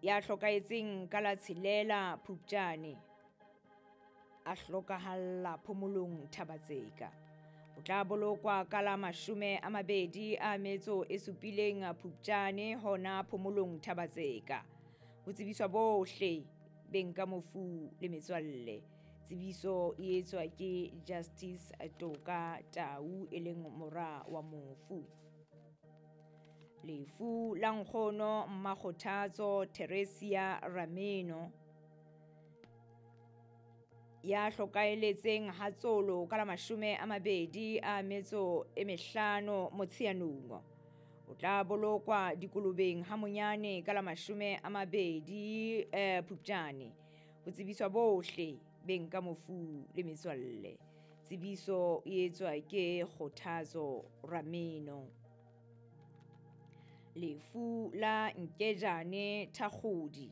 Ya hlokahetseng ka la 6 Phupjane, a hlokahalla phomolong Thabatseka. O tla bolokwa ka la 27 Phupjane hona phomolong Thabatseka. Ho tsebiswa bohle beng ka mofu le metswalle. Tsebiso e etswa ke Justice Toka Tau e leng mora wa mofu. Lefu la nkgono Mmakgothatso Theresia Rameno ya hlokaeletseng Hatsolo ka la 25 Motsheanong. O tla bolokwa dikolobeng ha monyane ka la 20 Phupjane. Ho tsebiswa bohle beng ka mofu le metswalle. Tsebiso e etswa ke Kgothatso Rameno. Lefu la Nkejane Thakgodi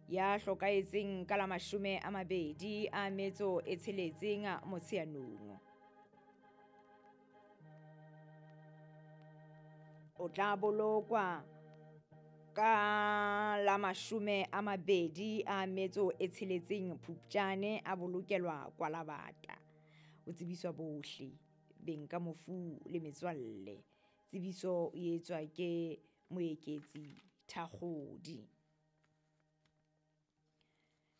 ya hlokahetseng ka la 26 Motsheanong. O tla bolokwa ka la 26 Phupjane, a bolokelwa Kwalabata. O tsebiswa bohle beng ka mofu le metswalle. Tsebiso e etswa ke Moeketsi Thakgodi.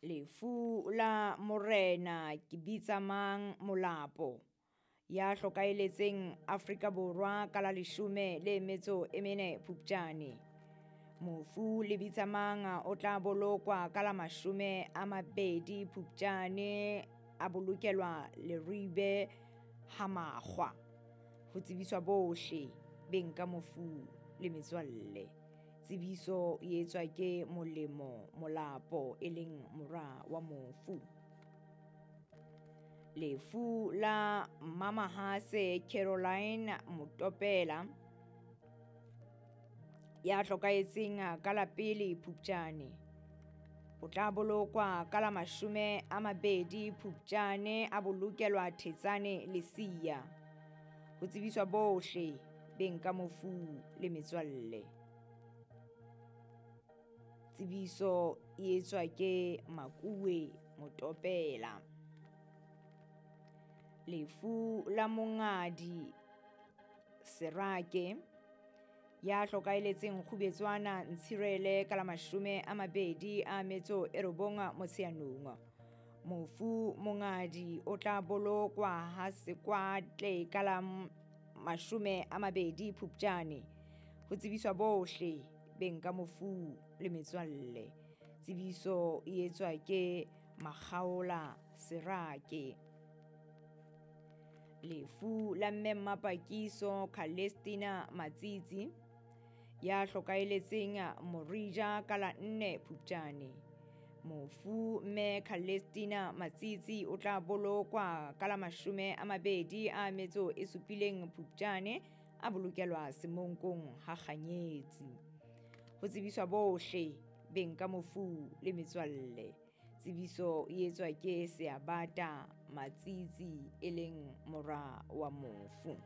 Lefu la Morena Kebitsamang Molapo ya hlokaeletseng Afrika Borwa ka la 14 Phupjane. Mofu Lebitsamang o tla bolokwa ka la 20 Phupjane, a bolokelwa Leribe ha Makgwa. Ho tsebiswa bohle beng ka mofu le metswalle. Tsebiso e etswa ke Molemo Molapo e leng mora wa mofu. Lefu la Mamahase Caroline Motopela ya hlokahetseng ka la 1 Phupjane. O tla bolokwa ka la 20 Phupjane, a bolokelwa Thetsane Lesia. Ho tsebiswa bohle beng ka mofu le metswalle. Tsebiso e etswa ke Makuwe Motopela. Lefu la Mongadi Serake ya hlokaeletseng Kgubetswana Ntshirele ka la 29 Motsheanong. Mofu Mongadi o tla bolokwa ha Sekwatle ka la 20 Phupjane. Ho tsebiswa bohle beng ka mofu le metswalle. Tsebiso e etswa ke Makgaola Serake. Lefu la mme Mmapakiso Calestina Matsitsi ya hlokaeletseng Morija ka la 4 Phupjane. Mofu mme Calestina Matsitsi o tla bolokwa ka la 27 Phupjane, a bolokelwa Semonkong ha Kganyetsi. Ho tsebiswa bohle beng ka mofu le metswalle. Tsebiso e etswa ke Seabata Matsitsi e leng mora wa mofu.